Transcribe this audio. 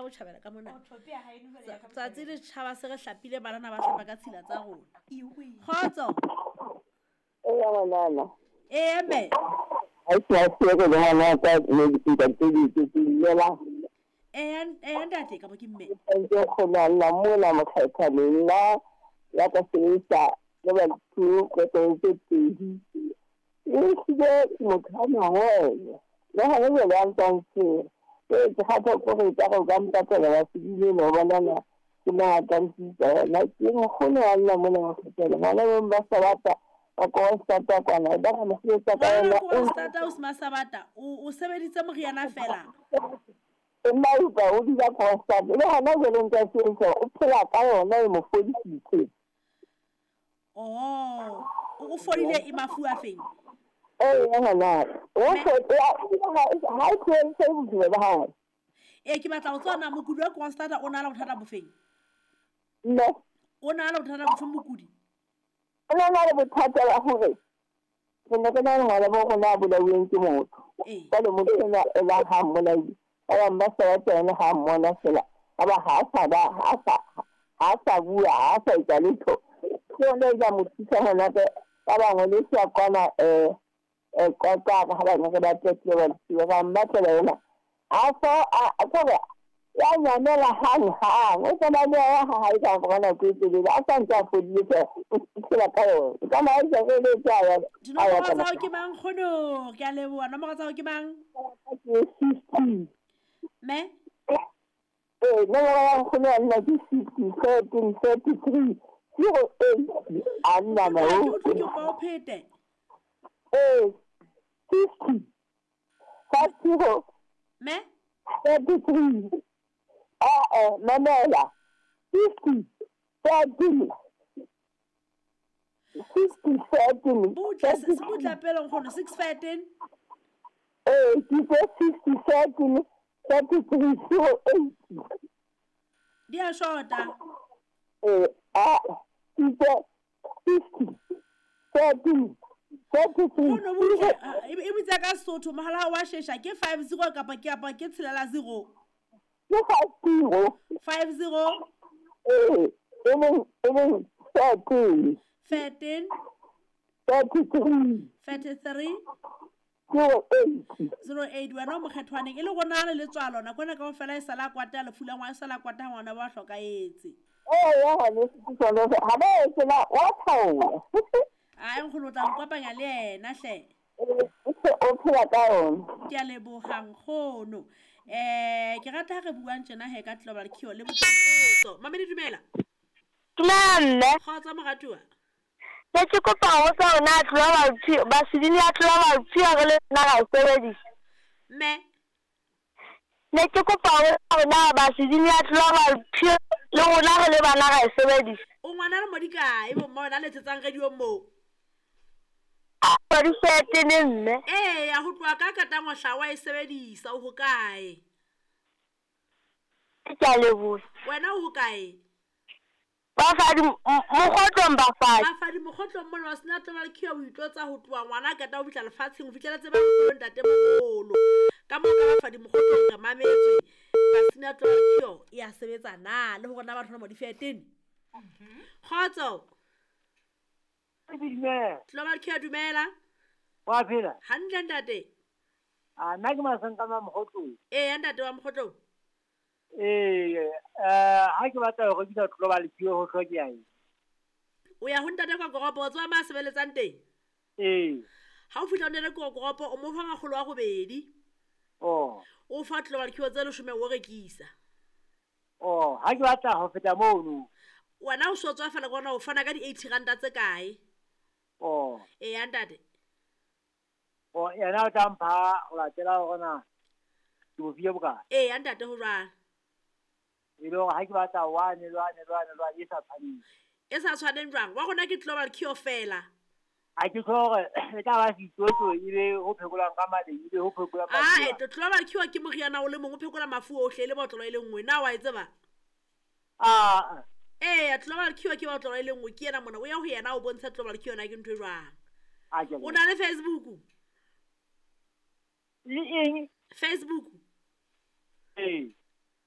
botjhabela ka mona. Tsatsi le tjhaba se re hlapile banana ba hlapa ka tshila tsa rona. Kgotso. Eya ngwanana. Ee mme. Ha ke a se re le ngwana ka ne ntate ke ke llela. Eya eya ntate ka bo ke mme. Ke kgona nna mona mokgethane nna ya ka sebedisa le batho ko tse pedi. Ehlile motho ha mangwele le hona jwale a ntsa ntshwere. Ee ke kgathwa ke hore ekare o ka mpatela wa sedile no bonana ke mang a ka ntisa yona. Ke nkgono a lla mona mokgethane ngwana bo ba Sabata ba Kroonstad kwana ba re mosebetsa ka Ngwana yona. Kroonstad o sema Sabata o sebeditse moriana fela. Empa o dula Kroonstad le hona jwale ntse a sebedisa o phela ka yona e mo fodisitse. Oh, o fodile e mafu a feng? Ee ngwana o ha e tlohellise bophelo ba hae. Ee ke batla ho tseba na mokudi wa Kroonstad o na le bothata bofeng? Mme O na le bothata bofeng mokudi? O na le bothata ba hore re ne re na le ngwana bo rona a bolauweng ke motho. Jwale motho enwa e la ha mmolaile. Ba bang ba sa batla yena ha mmona fela. Ba ba ha sa ba ha sa bua ha sa etsa letho. Ke yona e ka mo thusa ngwanaka. Ba bangwe le se kwana Qwaqwa ha ba ne re ba tletleba bosiu ba mmatlela yona. A so a kore ya nyamela hang hang. O tsena le ya ha hae ka mora nako e telele. A sa ntse a fodile fela o phela ka yona. Ka maetsa re le tsa ya. Dinomoro tsa hao ke mang nkgono? Ke a leboha. Nomoro tsa hao ke mang? Ke 50. Mme? Ee, nomoro ya nkgono ya nna ke 50 13 33 08. A nna na o. Ke utlwe ke kopa o phete. Ee, 50 50 Mme? 33. Ah, mamela. 50 13 60 13. Butle, se butle pele nkgono 6 13. Ee, ke 60 13 33 08. Di a shota. Ee, a ke 50 13 33. Nkgono butle, e bitsa ka Sesotho mohala wa shesha ke 50 kapa ke apa ke tshelela 0. Ke 50. 50. Ee, e leng 13. 13. 33. 33. 08. 08 wena o mokgethwaneng e le gona le letswalo nako ena kaofela e sala kwata lefu la ngwana e sala kwata ngwana ba hlokahetse. Ee, ya ngwaneso ke sona se ha ba e sena wa thaola. Ai nkgono o tla nkopanya le yena hle. O phela ka yona. Ke a leboha nkgono. Ke rata ha re buang tjena he ka Global Cure le botso. Mamedi dumela. Dumela mme. Kgotsa moratuwa. Ne ke kopa ho botsa hore na Global Cure baseding ya Global Cure re le nna ra e sebedisa. Mme. Ne ke kopa ho botsa hore na baseding ya Global Cure le rona re le bana ra e sebedisa. O ngwana le modi kae bo mma wena letsetsang radio moo? Di mme. Ee, ya ho tloha ka katangwahla wa e sebedisa o hokae? Ke a leboha. Wena o hokae? Bafadi mokgotlong bafadi. Bafadi mokgotlong mona wa sena Global Cure o itlotsa ho tloha ngwana a qeta ho fihla lefatsheng ho fihlela tseba ntate moholo. Ka moo ka bafadi mokgotlong re mametswe ba sena Global Cure e a sebetsa na le hore na batho ba mo di fetene. Kgotso. Global Cure dumela. Wa phela? Hantle ntate. A nna ke Masanka wa Mokgotlong. Ee ntate wa Mokgotlong. Ee, ha ke batla ho rekisa Global Cure ho hlokeha eng? O ya ho ntate kwa koropo o tseba ma sebeletsang teng? Ee. Ha o fihla ho ntate kwa koropo o mo fa makgolo a robedi. Oh. O fa Global Cure tse 10 o rekisa. Oh, ha ke batla ho feta mono. Wena o so tswa fela kona o fana ka di 80 ranta tse kae? Oh. Ee ntate. Oh, yena o tla mpha ho latela hore na ke bo file bokae. Ee ntate ho jwang? E le hore ha ke batla one lwane lwane lwane e sa tshwaneng. E sa tshwaneng jwang? Wa rona ke Global Cure fela. Ha ke tlo hore e tla ba setsotso e be ho phekolang ka maleng e be ho phekolang mafu. Ah, Global Cure ke moriana o le mong o phekola mafu ohle e le botlolo e le nngwe. Na wa e tseba? Ah. Ee, Global Cure ke botlolo e le nngwe ke yena mona o ya ho yena o bontsha Global Cure na ke ntho e jwang. O na le Facebook? Le eng? Facebook. Ee.